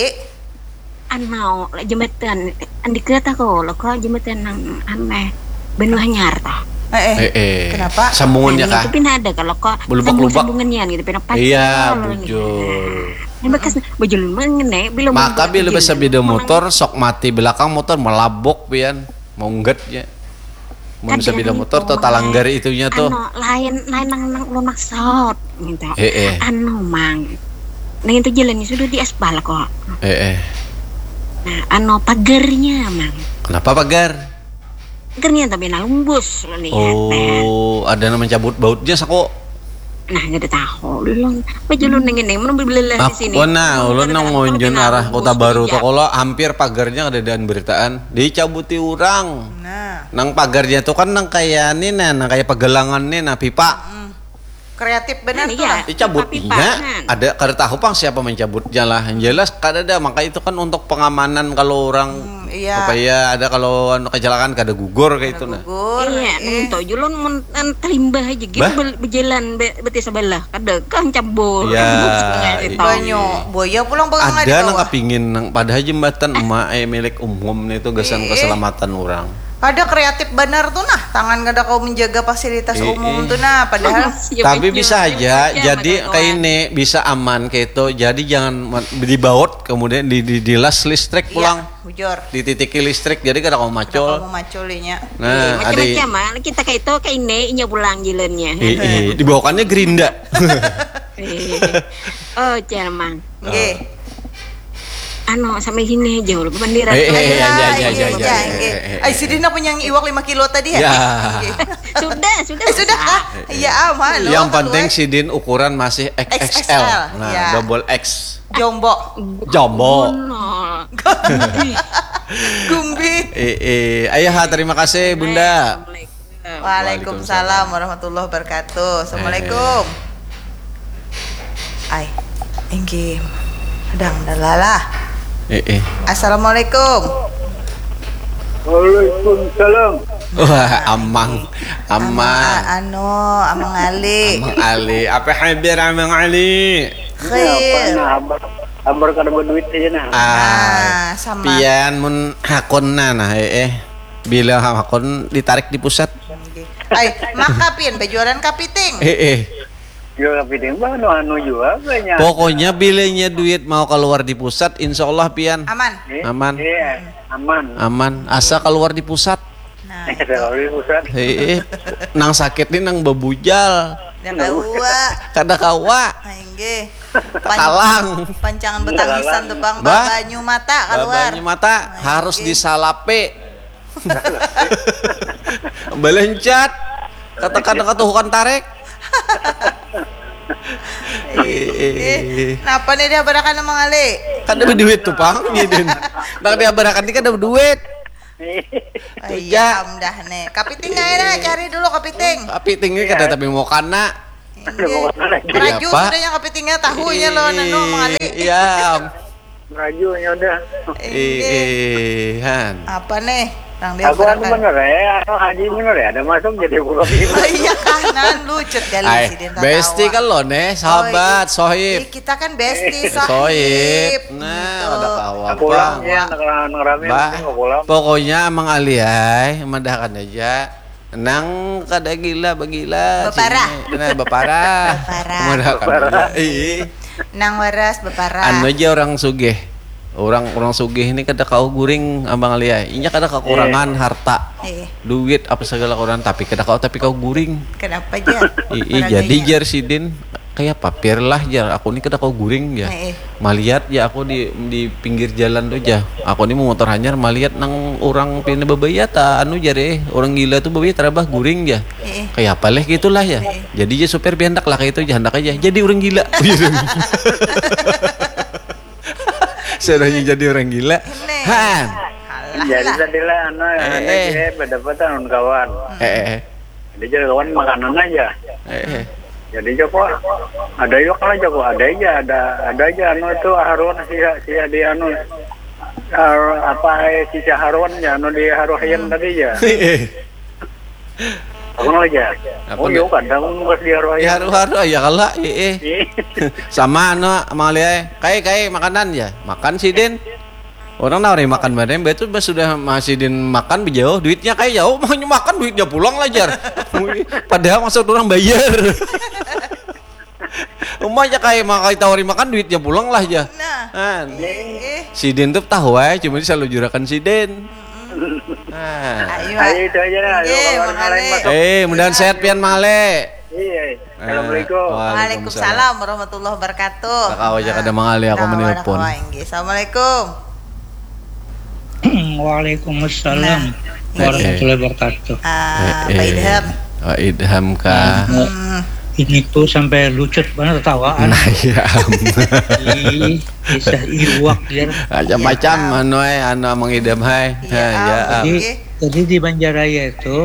Anu, jembatan andika tahu lo kok jembatan nang aneh benua hanyar tah. Eh, eh. Eh, eh. Kenapa? Sambungannya Nah, kah? Itu pina ada kalau kok Belubak-lubak. Sambungannya gitu pina pacar Iya, lo nih. bujur. Nah, bekas bujur mengenai belum Maka membuat bila bujur. bisa beda Memang motor, sok mati belakang motor melabok pian. Mongget ya. Mun bisa Kadang beda motor itu, tuh talanggar itunya tuh. Anu, lain lain nang nang ulun maksud gitu. Eh, eh. Anu mang. Nah itu jalannya sudah di aspal kok. Eh, eh. Nah, anu pagarnya mang. Kenapa pagar? Pagarnya tapi nah lumbus lo nih. Oh, ada yang mencabut bautnya sako. Nah, kada tahu ulun. Baju ulun nang ini mun belelah di sini. Aku nah, ulun nang Kada ngunjun tahu arah lumbus Kota Baru kerja. Tokolo hampir pagarnya ada dan beritaan dicabuti orang. Nah, Nang pagarnya tuh kan nang kayak ini nah, nang kayak pegelangan nih nah pipa. kreatif benar Nah, tuh iya. lah. Dicabut Pipa-pipa, iya. nah. Ada kada tahu pang siapa mencabutnya lah. Yang jelas kada ada maka itu kan untuk pengamanan kalau orang Hmm, iya. Supaya ada kalau anu kecelakaan kada gugur kayak itu nah. Gugur. Iya, Eh, nang itu aja ulun mun an- talimbah aja gitu Bah? bel- bejalan be- beti sebelah kada kang cabur. Iya. Rembuk sungai itu. Banyu, boya pulang pegang Ada di nang bawah. Kepingin nang padahal jembatan emak eh milik umum nih itu gasan Ih. Keselamatan orang. Kada kreatif banar tu nah, tangan kada kawa menjaga fasilitas Ii. umum tu nah, padahal Siap Tapi itu. bisa aja, Siap jadi ada kayak kawan. Ini bisa aman kayak itu. Jadi jangan men- dibaut kemudian di, di dilas listrik iya, pulang. Bujur. Dititiki listrik jadi kada kamu Kada macul. Kamu maculinya. Nah, ada Macam-macam ah. Kita kayak itu kayak ini inya pulang jalannya. Eh, eh, dibawakannya gerinda. Eh. Oh, Cermang. Nggih. Anu sampai sini aja udah bendera. Eh, eh, eh, ya, ya, ya, Iya, ya, iya, ya, iya, eh, nggih. eh, eh, Ay, eh. Sidin nak punya iwak lima kilo tadi ya? Ya. Nggih. Sudah, sudah. Eh, sudah. Ah. Iya, aman. Yang Loh, penting keluar. Sidin ukuran masih X X L. X X L, Nah, iya. Double X. Jombo. Jombo. Nah. Gumbi. Eh, eh. Ayah, terima kasih Bunda. Assalamualaikum. Waalaikumsalam warahmatullahi wabarakatuh. Assalamualaikum. Ay, inggih. Dang dalalah. Eh, eh. Assalamualaikum. Waalaikumsalam. Wah, Amang. Amang. Anu, Amang Ali. Amang Ali. Apa habar Amang Ali? Ini apa Khair. Nah, habar, habar kada berduit aja nah. Ah, Sama. Pian mun hakun nah, nah, eh, eh. Bila hakun ditarik di pusat. Ay, maka pian bajualan kapiting. Eh, eh. Juga kapiting bah anu anu juga banyak. Pokoknya bilanya duit mau keluar di pusat, insya Allah pian. Aman. Eh, Aman. Iya, aman. Aman. Asa keluar di pusat. Nah, Kalau di pusat. Hei, nang sakit nih nang babujal. Dah kawa. Kada kawa. Nah, inggih. Kalang. Pancangan betangisan tuh bang. Bah. Banyu mata keluar. Banyu mata harus disalape. Belencat. Katakan katuhukan tarek. Eh, napa nih dia barakan Mang Ali? Kada berduit tuh pang, Sidin. Nang dia barakan ini kada berduit. Iya, am dah nih. Kapiting aja dah, cari dulu kapiting. Kapiting ini kada tapi mau kana. Inggih. Kenapa? Raju sudah yang kapitingnya tahunya lo nanu Mang Ali. Iya. Merajunya udah. Ih, ih, han. Apa nih? Nang dia Aku anu barakan. Bener ya, anu haji bener ya, ada masuk jadi buka pintu. Iya kanan lucut kali Ay, Sidin bestie tatawa. kalau nih, sahabat, Oh, sohib. Ih, kita kan bestie, Sohib. sohib. Nah, Gitu. udah kawa Pulang pang. Ya, nang nang rame Bah, mungkin nggak pulang. Pokoknya Amang Ali ay, madahkan aja. Nang kada gila bagila. Baparah. Sini. Nah, baparah. Baparah. Madahkan aja. Ih. Nang waras beparah. Anu aja orang sugih. Orang orang sugih ini kada kau guring Amang Ali ay. Inya kada kekurangan harta. Eh, Duit apa segala kurang tapi kada kau tapi kau guring. Kenapa aja? Ih, jadi jar Sidin kayak papir lah jar aku ni kada kau guring ya. Eh, eh. Maliat ya aku di di pinggir jalan tuh ja. Aku ni mau motor hanyar maliat nang orang pina babaya ta anu jar eh orang gila tuh babaya tarabah guring ya. Eh, eh. Kayak apa leh gitulah ya. Eh. Jadi ya supir pian handak lah kayak itu ya handak aja. Jadi orang gila. Sudahnya jadi orang gila. Ini. Han. Alah Jadi lah. Tadi lah anu Eh, eh. Berdapat tahun kawan. Eh eh Jadi jadi kawan makanan aja. eh eh. Jadi Joko ada yuk lah Joko ada aja ada ada aja anu itu haruan si si di anu ar- apa eh, si haruan ya anu di haruan tadi ya. Eh eh. Aku aja. Apa Oh nih? Yuk ada aku pas di haruan. Ya haru-haru ya kalau eh eh. Ih, Sama anu Mang Ali ay. Kai kai makanan ya. Makan Sidin. Orang nawari makan bareng, betul bah sudah masih din makan bejauh duitnya kayak jauh mau makan duitnya pulang lah jar. Padahal maksud orang bayar. Umanya kayak mau kayak tawari makan duitnya pulang lah ya. Nah. Kan. Eh, eh. Sidin tuh tahu aja cuma selalu jurakan Sidin. Nah. Ayo. Ayo itu aja lah. Oke, Kalau Mang orang lain Ali. masuk. Eh, mudahan sehat pian Mang Ali. Iya. Assalamualaikum. Waalaikumsalam. Waalaikumsalam warahmatullahi wabarakatuh. Tak kawa aja kada Mang Ali aku Nah, menelpon. wah, inggih. Assalamualaikum. Waalaikumsalam Nah. warahmatullahi wabarakatuh. Ah, Eh, Pak eh. Idham. Pak Idham kah? Hmm. Ini tuh sampai lucut banget ketawaan. Nah, iya. Ih, kisah iwak ya. Macam-macam anu eh, anu Mang Idham hai. Iya, Nah, ya. ah, Jadi, Oke. jadi di Banjaraya itu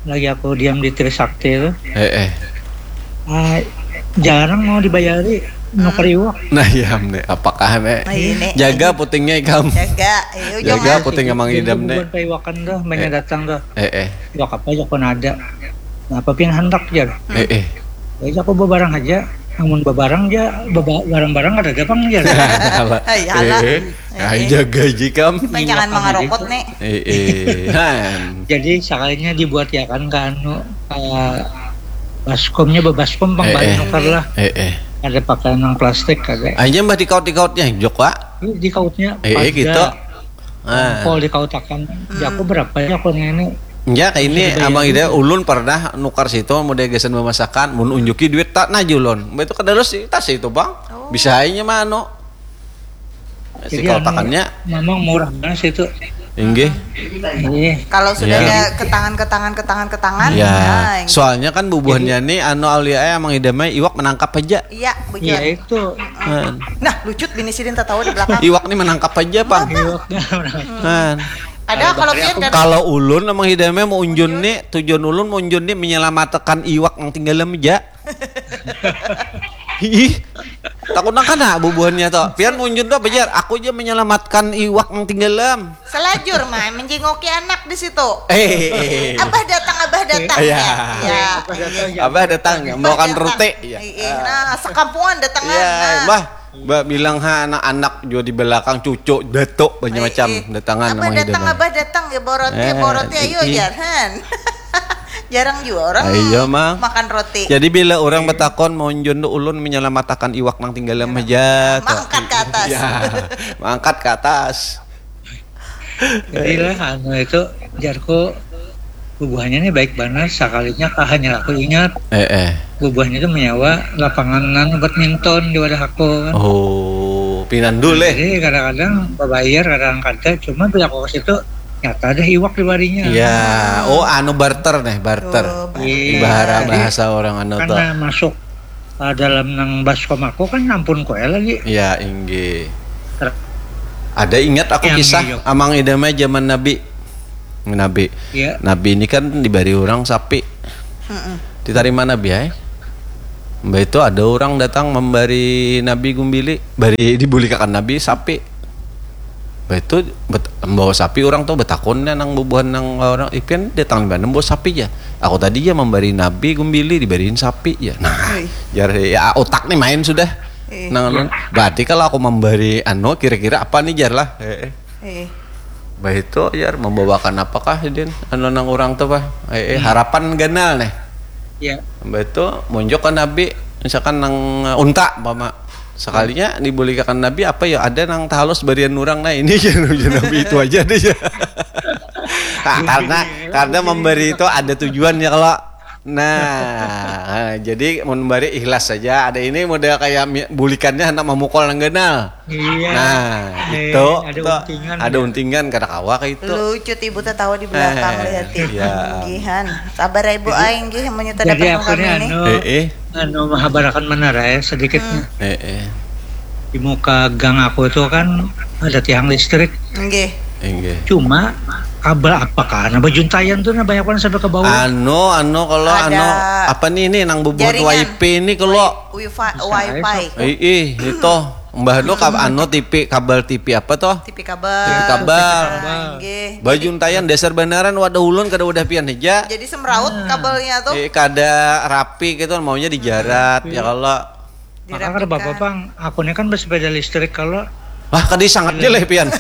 lagi aku diam di Trisakti itu, Eh eh. ah, jarang mau dibayari nuker iwak. Nah, iya nih. Apakah nih? Nah, ini. Jaga putingnya ikam. Jaga, ayo Jaga jangan. putingnya Mang Idham nih. Bukan iwakan tuh, mainnya Eh. Datang tuh. Eh eh. Iwak apa ya kok ada. Nah, apa pian handak jar? Eh eh. Ya aku bawa barang aja. Amun babarang ja, baba-, barang-barang kada ada pang ja. Hai, alah. Eh, eh, jaga jikam. Jangan mangarokot nih. Eh, eh. Jadi sakalinya dibuat ya kan ke anu, uh, baskomnya bebaskom pang eh, eh. Nukar lah. Eh, eh. Ada pakai nang plastik ada. Aja mbah dikaut-dikautnya jok pak. Dikautnya. Eh, eh gitu. Nah. Pol dikautakan. Hmm. Jaku berapa ya aku ini? Ya kayak ini abang ida ulun pernah nukar situ mau gasan memasakan, mau unjuki duit tak najulon. Itu kedalos tas itu bang. Oh. Bisa aja mano. Si kautakannya memang murah banget situ. Inggih. Iya. Kalau sudah ya. Ada ketangan ketangan ketangan ketangan. Ya. Nah, soalnya kan bubuhannya nih anu aulia emang idamai iwak menangkap aja. Iya, betul. Iya itu. Nah, nah lucut bini sidin tertawa di belakang. Iwak nih menangkap aja, Pak. Iwak. Nah. Ada kalau dia kan kalau ulun emang idamai mau unjun nih, tujuan ulun mau unjun nih menyelamatkan iwak yang tinggal aja. Ih, takut nak kena bubuhannya toh. Pian munjun tuh bejar, aku aja menyelamatkan iwak yang tinggalam. Selajur mah menjengoki anak di situ. Eh, eh, eh. Abah datang, abah datang. Iya. Ya. Ya. Abah datang, ya. Makan rute. Ya. Iya. Nah, sekampungan datang. Iya, nah. Bah, bah bilang ha anak-anak juga di belakang cucu datuk banyak macam datangan. Abah datang, abah datang ya borot ya borot ya, ayo jangan. Jarang juga orang ah, iya, mang. Makan roti. Jadi bila orang betakon mau njun tu ulun menyelamatakan iwak nang tinggal dalam aja. Mangkat ke atas. Ya, mangkat ke atas. Jadi lah anu itu jarku bubuhannya nih baik banget sekalinya hanya aku ingat. Eh eh. Bubuhannya itu menyewa lapangan anu badminton di wadah aku. Kan. Oh, pinandu leh. Jadi kadang-kadang babayar kadang kada cuma bila aku ke situ nyata ada iwak di barinya. Iya. Oh, anu barter nih, barter. Oh, barter. Iya. Bahara bahasa orang anu tuh. Karena masuk uh, dalam nang baskom aku kan ampun koe lagi. Iya, inggih. Ada ingat aku kisah amang idamai zaman Nabi. Nabi. Ya. Nabi ini kan diberi orang sapi. Mm-mm. Ditarima Nabi ya. Mbak itu ada orang datang memberi Nabi gumbili, beri dibulikakan Nabi sapi. Bah itu bet, membawa sapi orang tuh betakunnya nang bubuhan nang orang ipian datang di mana membawa sapi ya. Aku tadi ya memberi nabi gumbili diberiin sapi ya. Nah, jar ya otak nih main sudah. Nang anu, berarti kalau aku memberi anu kira-kira apa nih jar lah. Heeh. Bah itu jar membawakan apakah din anu nang orang tuh bah. Eh, harapan ganal nih. Ya. Bah itu munjuk ke nabi misalkan nang unta mama. Sekalinya dibulikakan Nabi apa ya ada nang tahalus barian orang nah ini ya Nabi itu aja deh ya. Nah, karena karena memberi itu ada tujuannya kalau nah jadi memberi ikhlas saja ada ini model kayak bulikannya anak memukul nang ganal iya. Nah eh, itu ada tuh, untingan ada ya. Untingan kada kawa kayak itu lucu ibu tertawa di belakang eh, lihat ya. Gihan sabar ya ibu aing gih menyuta dapat ini anu, eh, eh. Anu mahabarakan menara ya sedikitnya. Hmm. Eh, eh. Di muka gang aku itu kan ada tiang listrik. Nggih. Nggih. Cuma kabel apa kan? Apa juntayan tuh nah banyak banget sampai ke bawah. Anu, anu kalau anu apa nih ini nang bubut wifi ini kalau wifi. Ih, itu. Mbah nu kab anu T V kabel T V apa toh? T V kabel. T V kabel. Nggih. Bajuntayan dasar banaran wadah ulun kada wadah pian aja. Jadi semraut kabelnya tuh. Eh, kada rapi gitu maunya dijarat ya kalau. Maka kada apa-apa pang. Aku ini kan bersepeda listrik kalau. Wah, kada sangat dia leh pian.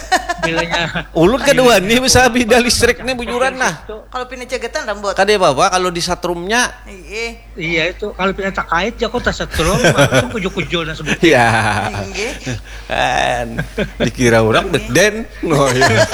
Bilanya. Ulun kedua nih bisa bida listrik nih bujuran nah. Kalau pindah cegetan rambut. Kada apa-apa kalau di satrumnya. Iya. Iya itu kalau pina takait ya kok tasetrum langsung kujul-kujul dan sebut. Iya. Kan dikira orang beden. Oh iya.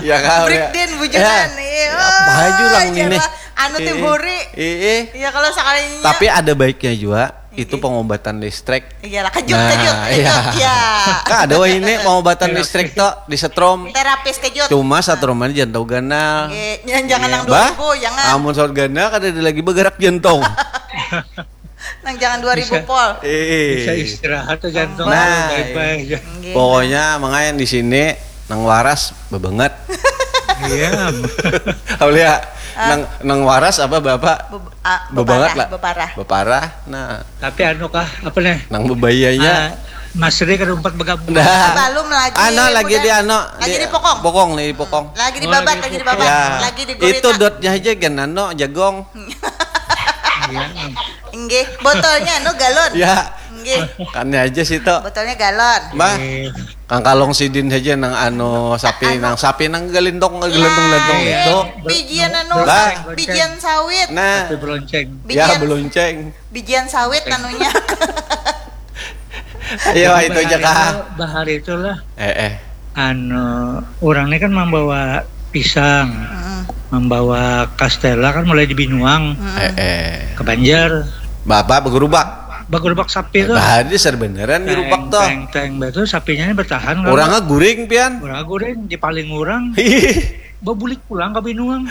Ya kau ya. Beden bujuran. Iya. Apa aja orang ini. Anu tim huri. Iya. Iya kalau sekalinya. Tapi ada baiknya juga. Itu pengobatan listrik. Iyalah kejut nah, kejut kejut. Iya. Ya. Kan ada wah ini pengobatan listrik tuh di setrum. Terapis kejut. Cuma setrum aja jantung ganal. Jangan nang dua ribu jangan. Amun saur ganal kada ada lagi bergerak jantung. Nang jangan dua ribu pol. Eh. Bisa istirahat tuh jantung. Nah, pokoknya makanya di sini nang waras bebanget. Iya. Aulia, ah. Nang nang waras apa bapak? Be, ah, bebanget lah. Beparah. Beparah. Nah. Tapi anu kah apa nih? Nang bebayanya. Ah, Mas Ri kada umpat begabung. Nah. Belum lagi. Ana lagi di ano. Lagi di, di pokong. Pokong nih di pokong. Lagi di babat, oh, lagi di babat. Ya. Lagi di gurita. Itu dotnya aja kan ano jagong. Iya. Nggih, botolnya anu galon. Ya, Nggih, kan aja situ. Botolnya galon. Bah, kangkalong sidin saja nang anu sapi, nang sapi nang galintong, galintong-galintong Iya. itu. Bijian anu, Bah. Bijian sawit. Nah, Tapi belonceng. Ya, Bijian, belonceng. Bijian sawit anunya. Ayo, itu aja kah? Bahari itulah. Eh, eh. Anu, orang ini kan membawa pisang, Mm-mm. membawa kastela kan mulai di Binuang Eh, eh. ke Banjar. Bapak bergerubak. Bagerubak sapi tuh. Bah, ini serbeneran gerubak tuh. Teng, teng, teng, itu sapinya ini bertahan kan. Orangnya guring pian. Orang guring di paling orang. Babulik pulang ke Binuang.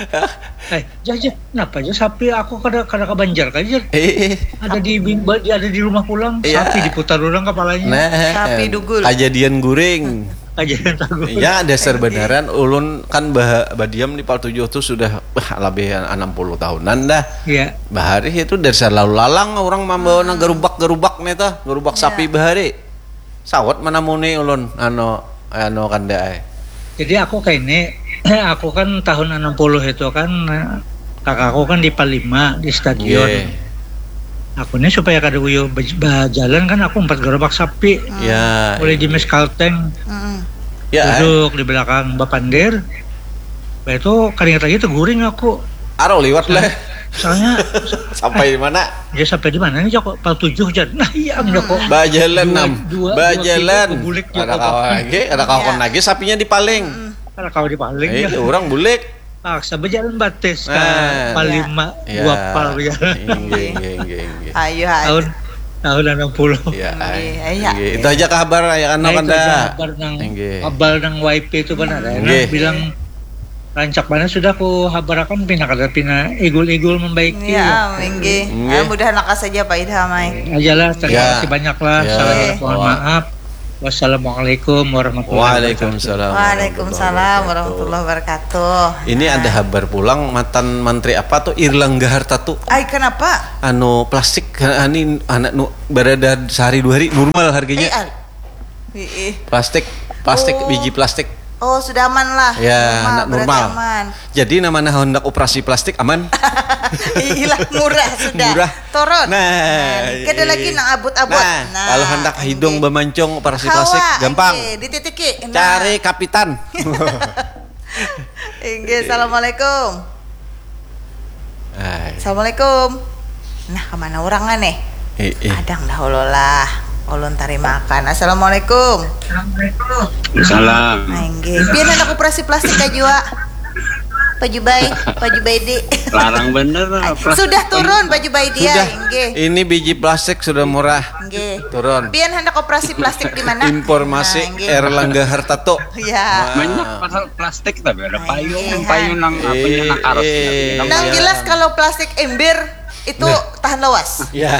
Eh, jah, jah, kenapa aja sapi aku kada kada ke Banjar aja. Eh, Ada di bin- ba- di ada di rumah pulang. Iya. Sapi diputar orang kepalanya. nah, Sapi dugul. Kajadian guring. Aja yang takut. Ya, dasar beneran ulun kan bah, badiam di Pal tujuh tuh sudah bah, lebih enam puluh tahunan dah. Iya. Bahari itu dasar lalu lalang orang membawa nang gerubak-gerubak nih tuh, gerubak Iya. Sapi bahari. Sawat mana muni ulun anu anu kanda ai. Jadi aku kayak ini, aku kan tahun enam puluh itu kan kakakku kan di Palima di stadion. Nggih. Aku ini supaya kada uyu bej- bajalan kan aku empat gerobak sapi. Ya. Mulai di mes kalteng, Mm-mm. Ya. Duduk di belakang bapandir. Bah itu kada ingat lagi teguring aku. Aro liwat lah. Soalnya Sampai di mana? Dia sampai di mana nih Joko? Pal tujuh jan. Nah iya Joko. Bajalan Dua- nam. dua- dua Bajalan. kilo bulik, Ada Joko. Kawan lagi, ada kawan Ya. Lagi sapinya dipaling. Ada kau dipaling Eh, ya. Orang bulik. Paksa berjalan batis ke Nah. Palima Ya. Dua Pal ya. Inggih, inggih, inggih, inggih. Ayo aja. Tahun tahun enam puluh. Ya, Inggih, ai. iya. Inggih. Itu aja kabar ya kan Nah, itu kanda. aja kabar nang Inggih. kabar nang Y P itu benar ya. Inggih. Bilang rancak mana sudah ku habarakan pina kada pina igul-igul membaiki. Ya, inggih. Inggih. Ah, mudahan lakas saja Pak Idham ai. Ajalah, terima Ya. kasih banyak lah. Ya. Salam Iya. mohon maaf. Wassalamualaikum warahmatullahi wabarakatuh. Waalaikumsalam. Ini ada kabar pulang matan mantri apa tuh Erlangga Hartarto. Ai kenapa? Anu plastik ini anak nu berada sehari dua hari normal harganya. Eh, al- Ih, ih. Plastik, plastik Oh. Biji plastik. Oh, sudah aman lah. Ya, anak Berarti normal. Aman. Jadi nama hendak operasi plastik aman. Iyalah, murah sudah. Murah. Turun. Nah, Kada lagi nang abut-abut. Nah, kalau hendak hidung bemancung operasi plastik gampang. Dititiki. Nah. Cari kapitan. Inggih, assalamualaikum. Ay. Assalamualaikum. Nah, kemana orangnya nih? Eh, eh. Adang dah ololah. Ulun tarimakan. Assalamualaikum. Salam. Nah, inggih. Pian hendak operasi plastik kah jua? Pak Jubai, Pak Jubaidi. Larang bener. Sudah turun Pak Jubaidi ya, Sudah. Inggih. Ini biji plastik sudah murah. Inggih. Turun. Pian hendak operasi plastik di mana? Informasi Nah, inggih. Erlangga Hartarto. Ya. Banyak pasal plastik tapi ada payung, Iya. Payung nang apa Eh, nang karos. eh, Nang iya. Jelas kalau plastik ember itu tahan lawas. Ya.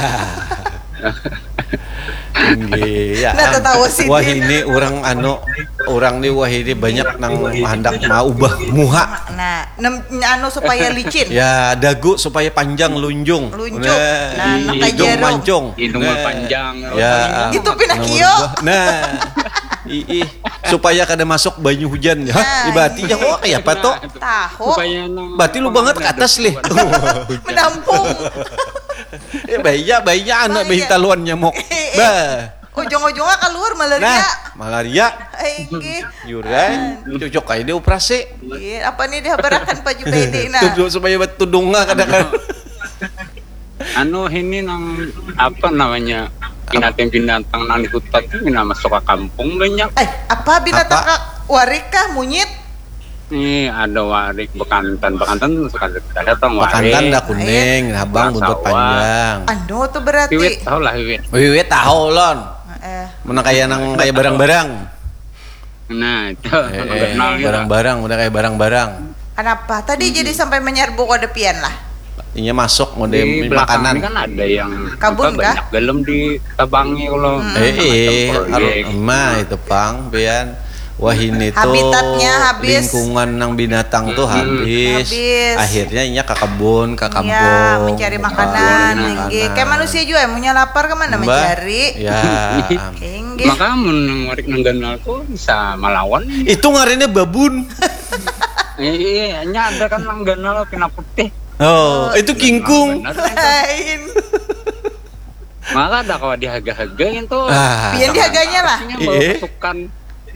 Inggih, ya. Nah, tatawa sidin. Wah, ini orang anu orang nih wah ini banyak nang hendak mau ubah muha. Nah, nem, anu supaya licin. Ya, dagu supaya panjang lunjung. Lunjung. Nah, Hidung pakai jarum. Mancung. Hidung Nah. berpanjang. Ya. Itu pindah kiok. Nah. Ih, supaya kada masuk banyu hujan. Hah, Nah. Ibaratnya oh kayak apa tuh? Tahu. Supaya nang Berarti lubangnya ke atas lih. Menampung. Ya bahaya, bahaya anak Bahaya. bayi taluan nyamuk. Bah. Ujung-ujungnya keluar malaria. Nah, malaria. Eh, inggih. Yuran, cocok aja dioperasi. Iya, apa nih dihabarakan Pak Jubaidi nah? Tuh supaya buat tudungnya kada kan. Anu ini nang apa namanya binatang-binatang nang di hutan tuh mina masuk ke kampung banyak. Eh, apa binatang Apa? Kak? Warik kah, munyit? Nih ada warik bekantan, bekantan suka ada datang warik. Bekantan dah kuning, habang buntut Sawah. Panjang. Anu tuh berarti. Wiwit tahu lah wiwit. Wiwit tahu lon. Eh, Mana kayak nang kayak barang-barang. Nah itu Eh, eh, kenal gitu. Barang-barang, udah kayak barang-barang. Kenapa? Tadi jadi sampai menyerbu kode pian lah. Inya masuk mau Di di belakang makanan. Ini kan ada yang Kabun apa, kah? Banyak gelem di tabangi kalau Eh, eh, macam harus proyek. Emah itu pang, pian. Wah ini tuh Habitatnya habis. Lingkungan nang binatang tuh Hmm. habis. Habis. Akhirnya inya ke kebun, ke kampung. Ya, mencari makanan, Mencari inggih. makanan. Kayak manusia juga yang punya lapar kemana Mbah, mencari? Ya. Inggih. Maka mun nang warik nang ganal tuh bisa melawan. Itu ngarannya babun. Iya, iya, nya ada kan nang ganal pina putih. Oh, itu kingkung. Bener. Lain. Maka ada kawa dihaga-haga gitu. Ah. Pian dihaganya lah. Ini bawa Iya. Pasukan.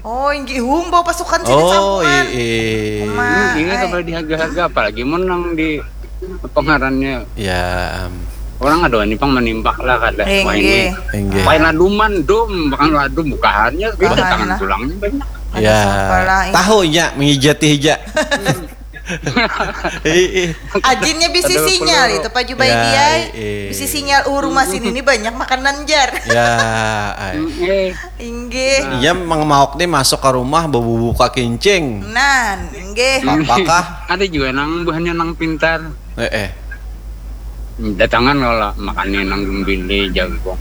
Oh, inggih hum bawa pasukan sini. Oh, sampuan. Iya. Hmm, ini kawa dihaga-haga, apalagi mun nang di pengarannya. Ya. Orang ada ini pang menimpak lah kada. Wah, ini. Inggih. Pain laduman dum, bahkan ladum bukahannya, kita tangan tulangnya banyak. Ya. Tahu nya mengijati hija. Ajinnya bisi sinyal itu Pak Jubaidi ai. Bisi sinyal, uh, rumah sini ini banyak makanan jar. Ya, ai. Eh, Inggih. Iya, Mang Maok nih masuk ke rumah bawa buka kincing. Nah, inggih. Apakah ada juga nang buhannya nang pintar. Eh, eh. Datangan kalau makannya nang gumbili jagung.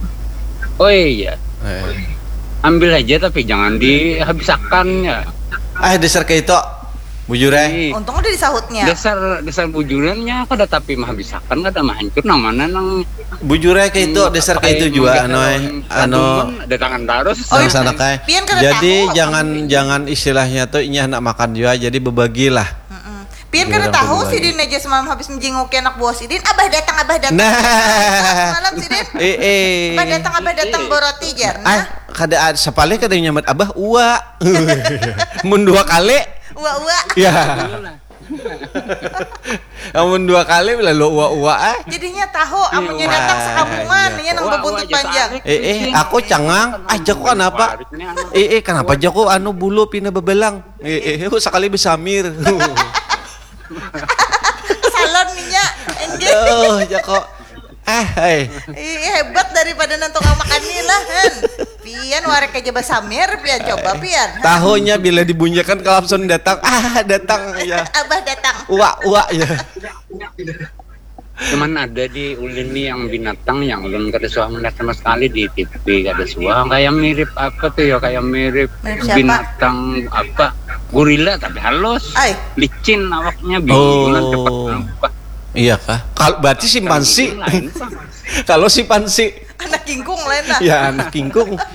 Oh iya, Eh. ambil aja tapi jangan dihabisakan ya. Ah, dasar kayak itu. Bujur eh. Ini Untung udah disahutnya. dasar dasar bujurannya kada tapi mah habisakan kada mah hancur nang mana nang Bujur eh kayak itu, dasar kayak itu juga anu eh. Anu datangan terus. Oh, nang iya. Sana kayak. Pian kada Jadi tahu. Jangan jangan istilahnya tuh inya nak makan juga, jadi bebagilah. Pian kada Iya, tahu betul. Sidin aja semalam habis menjenguki anak buah Sidin, abah datang, abah datang. Nah. Malam Sidin. Eh, eh. Abah datang, abah datang boroti jar. Ah, Nah, kada ada sapalih kada nyaman abah ua. Mun dua kali ua ua. ya. Amun dua kali lalu ua ua ah. Jadinya tahu amunnya datang sekamungan, Iya. Ini nang bebuntut panjang. Eh, eh, aku cangang. Ah, jaku kenapa? Eh, eh, kenapa jaku anu bulu pina bebelang? Eh, eh, aku sekali besamir. Salon nya. Enggih. Aduh, jaku. Ah, hai. Ih, hebat daripada nang tukang makan ni lah, Han. Pian warek aja basamir, pian coba pian. Tahunya bila dibunyikan kalau langsung datang. Ah, datang ya. Abah datang. Ua, ua ya. Cuman ada di ulin nih yang binatang yang ulun kada suah melihat sama sekali di T V, kada suah, kayak mirip apa tuh ya, kayak mirip Mirip siapa? Binatang apa, gorila tapi halus, Ai. Licin awaknya, bingungan Oh. cepat berubah. Iya kah? Kalau berarti simpansi. Lain, Bang. Kalau simpansi Anak kingkung lain lah. ya anak kingkung.